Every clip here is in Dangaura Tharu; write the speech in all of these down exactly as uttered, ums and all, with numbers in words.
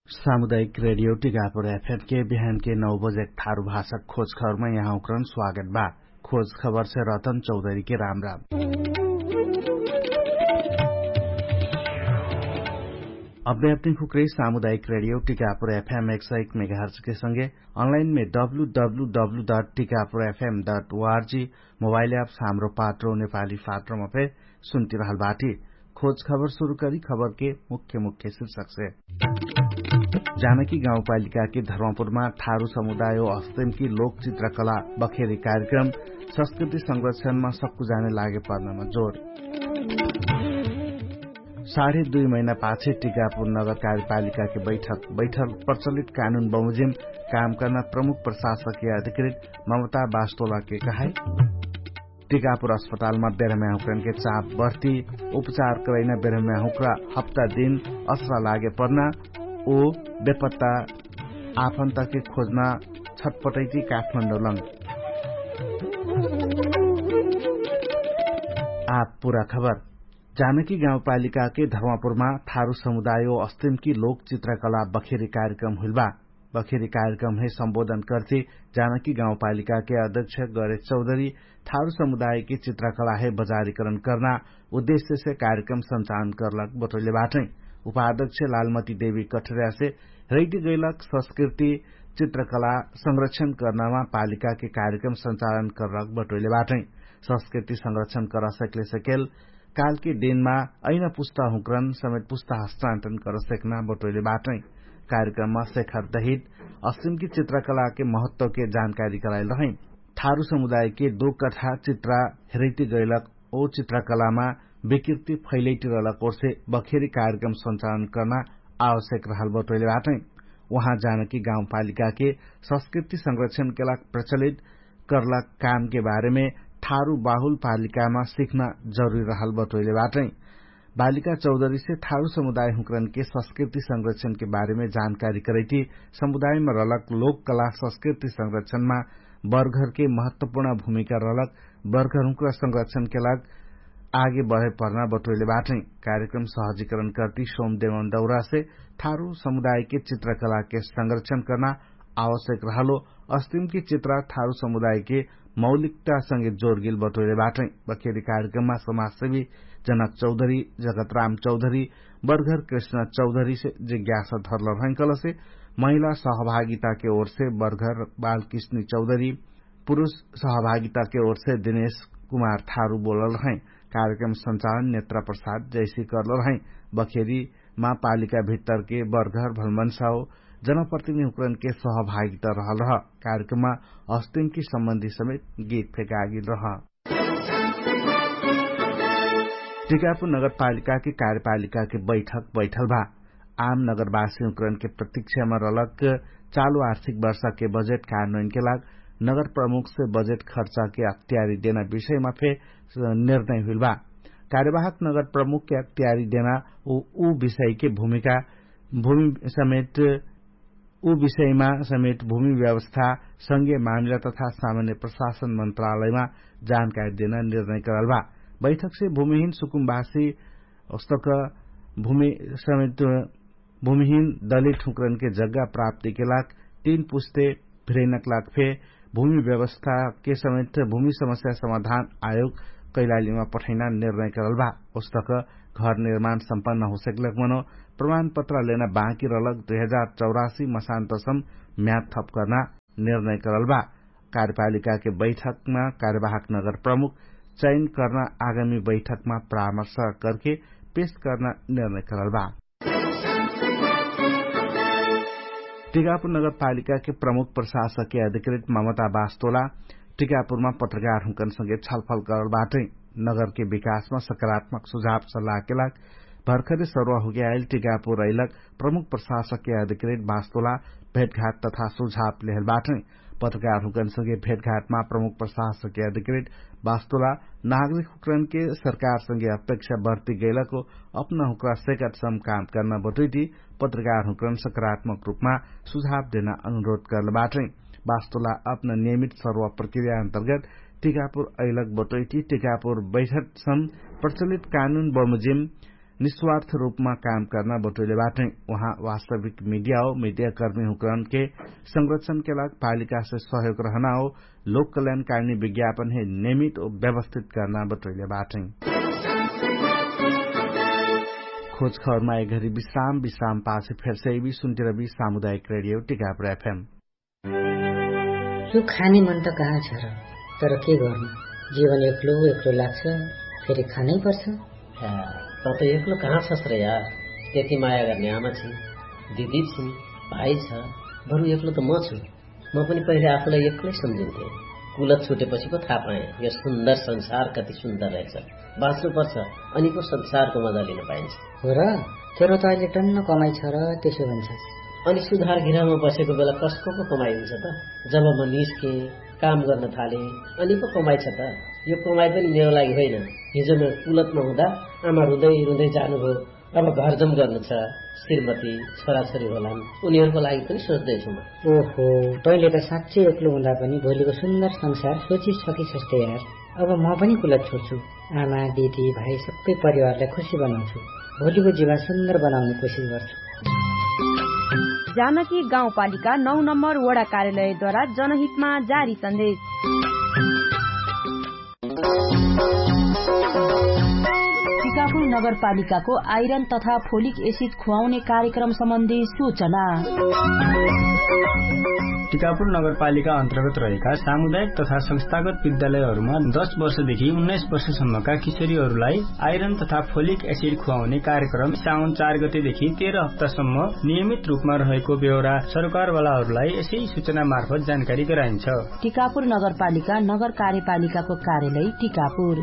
सामुदायिक रेडियो टिकापुर एफएम के बिहान के नौ बजे थारु भाषा खोज खबरमा यहाँ उक्रन स्वागत बा। खोज खबर से रतन चौधरी के राम राम। अब्बे अपनी खुक्रे सामुदायिक रेडियो टिकापुर एफएम एक सौ एक मेगाहर्ज के संगे अनलाइन में W W W dot Tikapur F M dot O R G mobile apps Hamro Patro नेपाली फात्रोमा फे सुन्ति रहल बाटी। खोज खबर सुरु करी खबर के मुख्य मुख्य शीर्षक से। जानकी गाउँपालिका के धर्मपुरमा थारु समुदाय अस्तिम कि लोक चित्रकला बखेरी कार्यक्रम संस्कृति संरक्षणमा सक्कु जाने लागे पर्नमा जोड। साढे दुई महिना पाछे टिकापुर नगर कार्यपालिका के बैठक बैठक प्रचलित कानुन बमोजिम काम कर्ना प्रमुख प्रशासक या अधिकृत ममता बास्तोला के कहाई। टिकापुर अस्पतालमा बेरम्या हुक्रन के चाप बर्ती उपचार करैना बेरम्या हुक्रा हप्ता दिन असरा लागे पर्ना ओ बेपत्ता आफन्ता के खोज्ना छटपटैती काठमाण्डौलङ। आप पुरा खबर। जानकी गाउँपालिका के धर्मपुरमा थारु समुदायो अस्तिम कि लोक चित्रकला बखेरी कार्यक्रम हुइल बा। बखेरी कार्यक्रम है सम्बोधन कर्ति जानकी गाउँपालिका के अध्यक्ष गरे चौधरी थारु समुदाय के चित्रकला है बजारीकरण कर्ना उद्देश्य से कार्यक्रम सञ्चालन कर्लक बटोइले बाटै। उपाध्यक्ष लालमती देवी कठरिया से रैति गैलक संस्कृति चित्रकला संरक्षण कर्नामा पालिका के कार्यक्रम सञ्चालन कर्लक बटोइले बाटै। संस्कृति संरक्षण कर्ना सकले सकेल कालके दिनमा ऐना पुस्ता हुँक्रन समेत पुस्ता हस्तान्तरण कर सेक्ना बटोइले बाटै। कार्यक्रममा सेखर दहित असिमकी चित्रकलाके महत्वके जानकारी कराइल रहै। थारु समुदायके दो कठा चित्रा हेरैति गैलक ओ चित्रकलामा विकृति फैलैति रहलक ओर्से बखेरी कार्यक्रम सञ्चालन कर्ना आवश्यक रहल बटोइले बाटै। उहाँ जानकी गाउँपालिकाके संस्कृति संरक्षणके लाग प्रचलित कर्ला कामके बारेमे थारु बाहुल पालिकामा सिख्ना जरुरी रहल बटोइले बाटै। बालिका चौधरीसे थारु समुदाय हुँक्रनके संस्कृति संरक्षणके बारेमे जानकारी करैति समुदायमा रहलक लोक कला संस्कृति संरक्षणमा बर्घरके महत्वपुर्ण भूमिका रहलक बर्घर हुँक्रा संरक्षणके लाग आगे बढे पर्ना बटोइले बाटै। कार्यक्रम सहजिकरण कर्ति सोम देवन दौरासे थारु समुदायके चित्रकलाके संरक्षण कर्ना आवश्यक रहलो अस्तिमकी चित्रा थारु समुदायके मौलिकता संगे जोरगिल बटोइले बाटै। बखेरी कार्यक्रममा समाजसेवी जनक चौधरी जगतराम चौधरी बर्घर कृष्ण चौधरीसे जिज्ञासा धरल रहैकलसे महिला सहभागिताके ओरसे बर्घर बालकृष्णी चौधरी पुरुष सहभागिताके ओरसे दिनेश कुमार थारु बोलल रहै। कार्यक्रम सञ्चालन नेत्रा प्रसाद जैसी कर्ल रहै। बखेरी मा पालिका भित्तरके बर्घर भलमन्साओ जनप्रतिनिधि हुँक्रनके सहभागिता रहल रह। कार्यक्रममा अस्तिमकी सम्बन्धी समेत गीत फेकागिल रह। टिकापुर नगरपालिकाके कार्यपालिकाके बैठक बैठल भा। आम नगरवासी हुँक्रनके प्रतीक्षामा रहलक चालु आर्थिक वर्षाके बजेट कारणोइनके लाग नगर प्रमुखसे बजेट खर्चाके अक्तियारी देना विषयमा फे निर्णय हुइल बा। कार्यवाहक नगर प्रमुखके अक्तियारी देना उ विषयके भूमिका भूमि समेत उ विषयमा समेत भूमि व्यवस्था संगे मामिला तथा सामान्य प्रशासन मन्त्रालयमा जानकारी देना निर्णय करल बा। बैठकसे भूमिहीन सुकुम्बासी उस्तक भूमि समेत भूमिहीन दलित हुँक्रनके जग्गा प्राप्तिके लाग तीन पुस्ते भिरैनक लाग फे भूमि व्यवस्थाके समेत भूमि समस्या समाधान आयोग कैलालीमा पठैना निर्णय करल बा। उस्तक घर निर्माण सम्पन्न होसकलक मनो प्रमाणपत्र लेना बाँकी रहलक दुई हजार चौरासी मसान्तसम म्याद थप कर्ना निर्णय करल बा। कार्यपालिकाके बैठकमा कार्यवाहक नगर प्रमुख चयन कर्ना आगामी बैठकमा परामर्श करके पेश कर्ना निर्णय करल बा। टिकापुर नगरपालिकाके प्रमुख प्रशासकके अधिकृत ममता बास्तोला टिकापुरमा पत्रकारहुँकनसँगे छलफल करल बाटै। नगरके विकासमा सकारात्मक सुझाव सल्लाहके लाग भर्खरे सरुवा हुके आइल टिकापुर अइलक प्रमुख प्रशासकके अधिकृत बास्तोला भेटघाट तथा सुझाव लेहल बाटै। पत्रकारहुँकनसँगे भेटघाटमा प्रमुख प्रशासकके अधिकृत बास्तोला नागरिकहुँकनके सरकारसँगे अपेक्षा बर्ती गैलको अपना हुँक्रा सेकटसम काम कर्ना बटुइटी पत्रकारहुँकन सकारात्मक रूपमा सुझाव देना अनुरोध करल बाटै। बास्तोला अपना नियमित सरुवा प्रक्रिया अन्तर्गत टिकापुर अइलक बटुइटी टिकापुर बैठकसम प्रचलित कानुन बमोजिम निस्वार्थ रूपमा काम कर्ना बटोइले बाटै। उहाँ वास्तविक मिडिया हो मिडियाकर्मी हुँकरनके संरक्षणके लाग पालिकासे सहयोग रहना हो लोक कल्याणकारिणी विज्ञापन हे नियमित हो व्यवस्थित कर्ना बटोइले बाटै। खोज खबरमा एघरी विश्राम विश्राम पाछे फेरसे इबी सुन्तिरबी सामुदायिक रेडियो टिकापुर एफएम। यो खाने मन त कहाँ छ र? तर के गर्नु, जीवन एक्लो एक्लो लाग्छ। फेरि खानै पर्छ। त त एक्लो कहाँ छस् र यार? त्यति माया गर्ने आमा छि, दिदी छि, भाइ छ। बरु एक्लो त म छु। म पनि पहिले आफूलाई एक्लै सम्झिन्थे। कुलत छुटेपछि पो थाहा पाएँ यो सुन्दर संसार कति सुन्दर रहेछ। बाँच्नु पर्छ, अनि पो संसारको मजा लिन पाइन्छ। हो र? तेरो त अहिले टन्न कमाइ छ र, त्यसो भन्छ। अनि सुधार घिरामा बसेको बेला कसको पो कमाइ हुन्छ त? जब म निस्केँ, काम गर्न थालेँ, अनि पो कमाइ छ त। यो कमाइ पनि मेरो लागि होइन। हिजो म कुलतमा हुँदा आमा रुँदै रुँदै जानुभयो। अब घरजम गर्नु छ, श्रीमती, छोराछोरी होलान्, उनीहरूको लागि पनि सोच्दैछु म। ओहो, तैँले त साँच्चै एक्लो हुँदा पनि भोलिको सुन्दर संसार सोची सकिसक्छ यार। अब म पनि कुलत छोड्छु। आमा, दिदी, भाइ, सबै परिवारलाई खुसी बनाउँछु। भोलिको जीवन सुन्दर बनाउने कोसिस गर्छु। जानकी गाउँपालिका नौ नम्बर वडा कार्यालयद्वारा जनहितमा जारी सन्देश। टिकापुर नगरपालिकाको आइरन तथा फोलिक एसिड खुवाउने कार्यक्रम सम्बन्धी सूचना। टिकापुर नगरपालिका अन्तर्गत रहेका सामुदायिक तथा संस्थागत विद्यालयहरूमा दश वर्षदेखि उन्नाइस वर्षसम्मका किशोरीहरूलाई आइरन तथा फोलिक एसिड खुवाउने कार्यक्रम साउन चार गतेदेखि तेह्र हप्तासम्म नियमित रूपमा रहेको बेहोरा सरकारवालाहरूलाई यसै सूचना मार्फत जानकारी गराइन्छ। टिकापुर नगरपालिका नगर कार्यपालिकाको कार्यालय टिकापुर।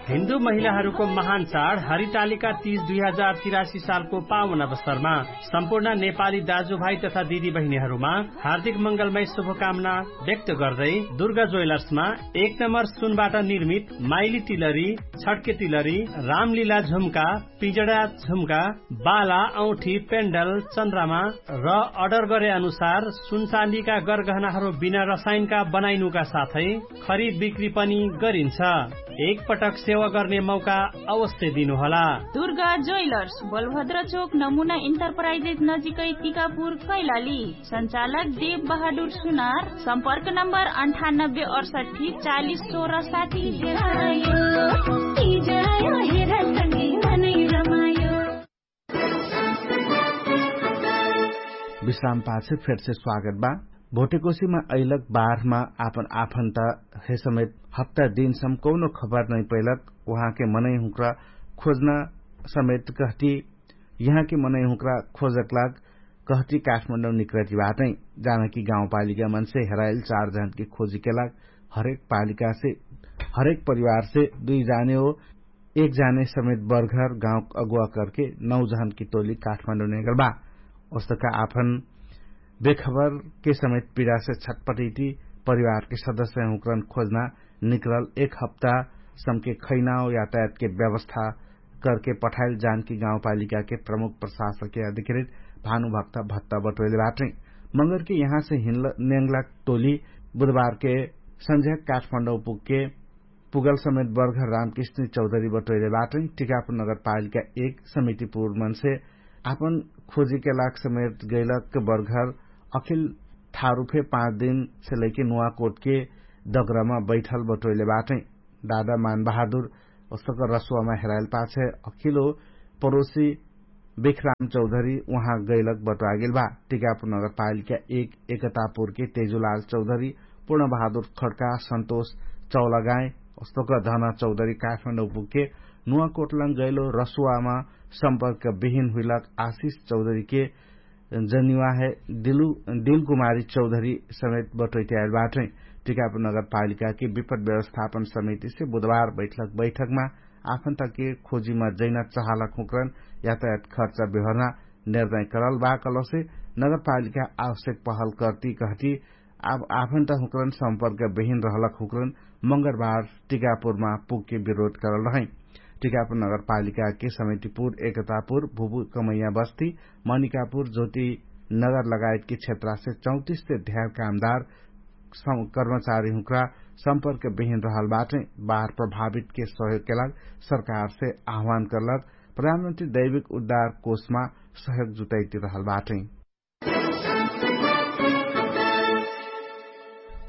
हिन्दू महिलाहरूको महान चाड हरितालिका तीज दुई हजार तिरासी सालको पावन अवसरमा सम्पूर्ण नेपाली दाजुभाइ तथा दिदीबहिनीहरूमा हार्दिक मंगलमय शुभकामना व्यक्त गर्दै दुर्गा ज्वेलर्समा एक नम्बर सुनबाट निर्मित माइली तिलरी, छड्के तिलरी, रामलीला झुम्का, पिजडा झुम्का, बाला, औठी, पेन्डल, चन्द्रमा र अर्डर गरे अनुसार सुनचाँदीका गरगहनाहरू बिना रसायनका बनाइनुका साथै खरिद बिक्री पनि गरिन्छ। एक पटक सेवा गर्ने मौका अवश्य दिनुहोला। दुर्गा ज्वेलर्स, बलभद्र चोक, नमुना इन्टरप्राइजेस नजिकै टिकापुर, कैलाली। सञ्चालक देव बहादुर सुनार। सम्पर्क नम्बर अन्ठानब्बे अडसठी चालिस सोह्र साठी। विश्राम पाछे फेरसे स्वागत बा। भोटेकोसीमा अइलक बारहमा आपन आफन्ता हे समेत हप्ता दिनसम कौनो खबर नै पैलक। उहाँके मनै हुँक्रा खोज्न समेत कहती यहाँके मनै हुँक्रा खोजक लाग कहती काठमाडौँ निक्रति बाटै। जानकी गाउँपालिका मनसे हेराइल चार जनके खोजीके लाग हरेक पालिकासे हरेक परिवारसे दुई जाने हो एक जाने समेत बर्घर गाउँ अगुवा करके नौ जहनकी टोली काठमाडौँ नेगल बा। ओस्तका आफन बेखबरके समेत पिडासे छटपटैती परिवारके सदस्य हुँक्रन खोज्ना निकरल एक हप्ता समके खैनाओ यातायातके व्यवस्था करके पठाइल जानकी गाउँपालिकाके प्रमुख प्रशासके अधिकृत भानुभक्त भत्ता बटोइले बाटै। मगरके यहाँसे हिन्ल नेङ्गला टोली बुधबारके सन्झ्याक काठमाडौँ पुगके पुगल समेत बर्घर रामकृष्ण चौधरी बटोइले बाटै। टिकापुर नगरपालिका एक समितिपुर मनसे आपन खोजीके लाग समेत गैलक बर्घर अखिल थारुफे पाँच दिनसे लैके नुवाकोटके दगरामा बैठल बटोइले बाटै। दादा मानबहादुर ओस्तक रसुवामा हेराइल पाछे अखिलो परोसी बेखराम चौधरी उहाँ गैलक बटोआगेल बा। टिकापुर नगरपालिका एक एकतापुरके तेजुलाल चौधरी पूर्णबहादुर खड्का सन्तोष चौलागाई ओस्तक धन चौधरी काठमाडौँ पुगके नुवाकोटलाङ गैलो रसुवामा सम्पर्क बिहिन हुइलक आशिष चौधरीके जनिवाहे दिलकुमारी चौधरी समेत बटोइट्याएल बाटै। टिकापुर नगरपालिकाके विपद व्यवस्थापन समितिसे बुधबार बैठक बैठकमा आफन्तके खोजीमा जैना चहालक हुँक्रन यातायात खर्च बेहोर्ना निर्णय करल बा कलसे नगरपालिका आवश्यक पहल कर्ती कहती आफन्ता हुँक्रन सम्पर्क बेहिन रहलक हुँक्रन मंगरबार टिकापुरमा पुगके विरोध करल रहै। टिकापुर नगरपालिकाके समितिपुर एकतापुर भुभु कमैया बस्ती मनिकापुर ज्योति नगर लगायतके क्षेत्रासे चौतिससे ध्यार कामदार कर्मचारी हुँक्रा सम्पर्क बिहिन रहल बाटै। बाहर प्रभावितके सहयोगके लाग सरकारसे आह्वान करलक प्रधानमन्त्री दैविक उद्धार कोषमा सहयोग जुटैति रहल बाटै।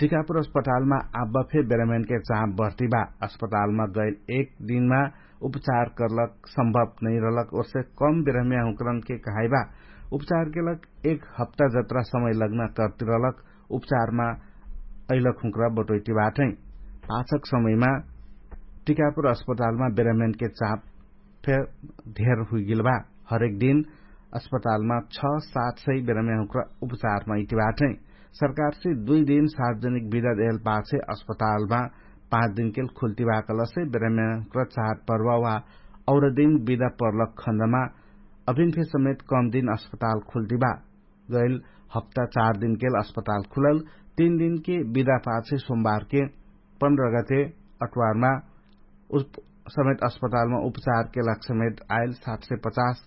टिकापुर अस्पतालमा आब्बा फे बेरम्यानके चाप बर्ती बा। अस्पतालमा गैल एक दिनमा उपचार करलक सम्भव नैरलक ओर्से कम बेरम्या हुँकरनके कहाइबा। उपचारके लक एक हप्ता जत्रा समय लग्ना कर्तिरलक उपचारमा अइलक हुँक्रा बटोइटी बाटै। पाछक समयमा टिकापुर अस्पतालमा बेरम्यानके चाप फेर धेर हुइगिल बा। हरेक दिन अस्पतालमा छ सात सय बेरम्या हुँक्रा उपचारमा इति बाटै। सरकारसे दुइ दिन सार्वजनिक बिदा देहल पाछे अस्पतालमा पाँच दिनकेल खुल्ती बाकलसे बेरम्या हुँक्रा चार पर्वा वा और दिन बिदा पर्लक खन्दमा अभिन फे समेत कम दिन अस्पताल खुल्ती बा। गैल हप्ता चार दिनकेल अस्पताल खुलल। तीन दिनके बिदा पाछे सोमबारके पन्ध्र गते अटवारमा समेत अस्पतालमा उपचारके लाग समेत आइल सात सय पचास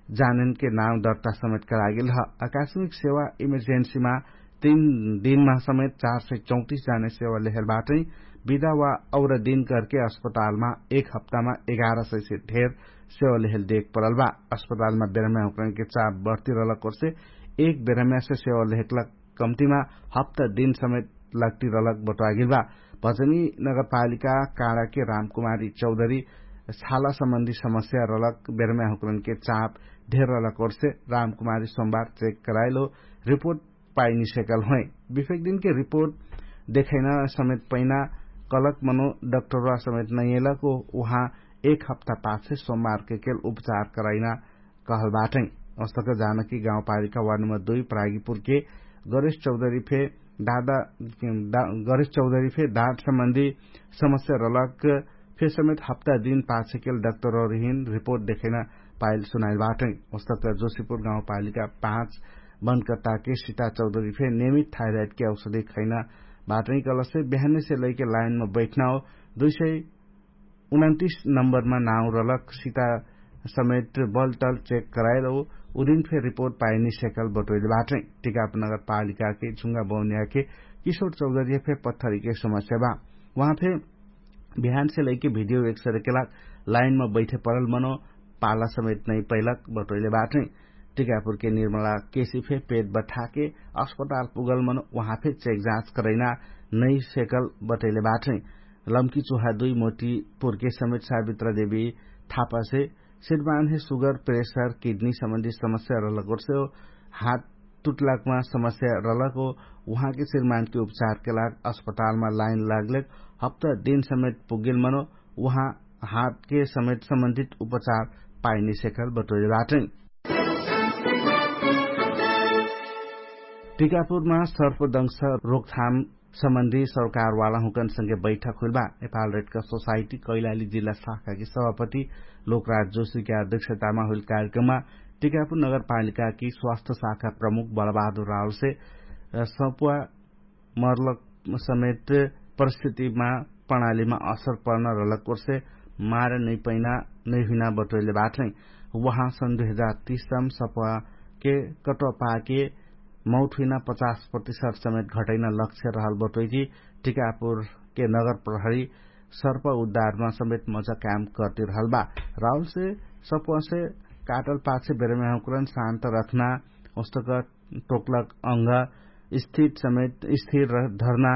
जानेनके नाम दर्ता समेत करागेल ह। आकाशमिक सेवा इमर्जेन्सीमा तीन दिनमा समेत चार सय चौतिस जाने सेवा लेहल बाटै। बिदा वा और दिन करके अस्पतालमा एक हप्तामा एघार सय से धेर सेवा लेहल देख परल बा। अस्पतालमा बेरम्या हुँकरनके चाप बर्ती रहलक ओर्से एक बेरम्यासे सेवा लेहकलक कम्तिमा हप्ता दिन समेत लग्ती रहलक बटोआगिल बा। भजनी नगरपालिका काँडाके रामकुमारी चौधरी छाला सम्बन्धी समस्या रहलक बेरम्या हुँकरनके चाप धेर रहलक ओर्से रामकुमारी सोमबार चेक कराइलो रिपोर्ट पाइनी सेकल होइ। बिफेक दिनके रिपोर्ट देखैना समेत पैना कलक मनो डक्टरवा समेत नैयलक उहाँ एक हप्ता पाछे सोमबारके केल उपचार कराइना कहल बाटै। अस्तक जानकी गाउँपालिका वार्ड नम्बर दुई प्रागिपुरके गणेश चौधरी फे दादा गणेश चौधरी फे दाँत सम्बन्धी समस्या रहलक फे समेत हप्ता दिन पाछेकेल डक्टरौरिहिन रिपोर्ट देखैना पाइल सुनाइल बाटै। अस्तक जोशीपुर गाउँपालिका पाँच बनकत्ताके सीता चौधरी फे नियमित थाइराइडके औषधी खैना बाटै कलसे बिहानेसे लैके लाइनमा बैठना हो दुई सय उनन्तिस नम्बरमा नाउ रहलक सीता समेत बलटल चेक कराइल हो उदिन फे रिपोर्ट पाइनी सेकल बटोइल बाटै। टिकाप नगरपालिकाके झुङ्गा बौनियाके किशोर चौधरी फे पत्थरीके समस्या बा। उहाँ फे बिहानसे लैके भिडियो एक सरेके लाग लाइनमा बैठे परल मनो पाला समेत नै पैलक बटोइले बाटै। टिकापुरके निर्मला केसी फे पेट बठाके अस्पताल पुगल मनो उहाँ फे चेक जाँच करैना नै सेकल बटोइले बाटै। लम्की चुहा दुई मोटी पुर्के समेत सावित्रा देवी थापासे सिरमानहे सुगर प्रेसर किडनी सम्बन्धी समस्या रहलक ओर्से हो हात टुटलाकमा समस्या रहलक हो उहाँके सिरमानके उपचारके लाग अस्पतालमा लाइन लागलेक हप्ता दिन समेत पुगेल मनो उहाँ हातके समेत सम्बन्धित उपचार पाइने सेकल बटोइले बाटै। टिकापुरमा सर्पदंश रोकथाम सम्बन्धी सरकारवाला हुँकन संगे बैठक हुइल बा। नेपाल रेडका सोसाइटी कैलाली जिल्ला शाखाकी सभापति लोकराज जोशीका अध्यक्षतामा हुइल कार्यक्रममा टिकापुर नगरपालिकाकी स्वास्थ्य शाखा प्रमुख बलबहादुर रावलसे सपुवा मरलक समेत परिस्थितिमा प्रणालीमा असर पर्न रहलक ओर्से मार नैपैना नैहुइना बटोइले बाटै। उहाँ सन् दुई हजार तीसम सपुवाके कटोपाके मौत हुइना पचास प्रतिशत समेत घटैना लक्ष्य रहल बटोइकी टिकापुरके नगर प्रहरी सर्प उद्धारमा समेत मजा काम कर्ति रहल बा। राहुलसे सपुवासे काटल पाछे बेरमे हुँकरन शान्त रखना उस्तक टोक्लक अंग स्थिर समेत स्थिर धर्ना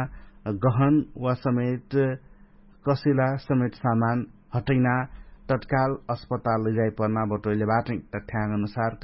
गहन वा समेत कसिला समेत सामान हटैना तत्काल अस्पताल लैजाइपर्ना बटोइले बाटै। तठ्याङ्ग अनुसार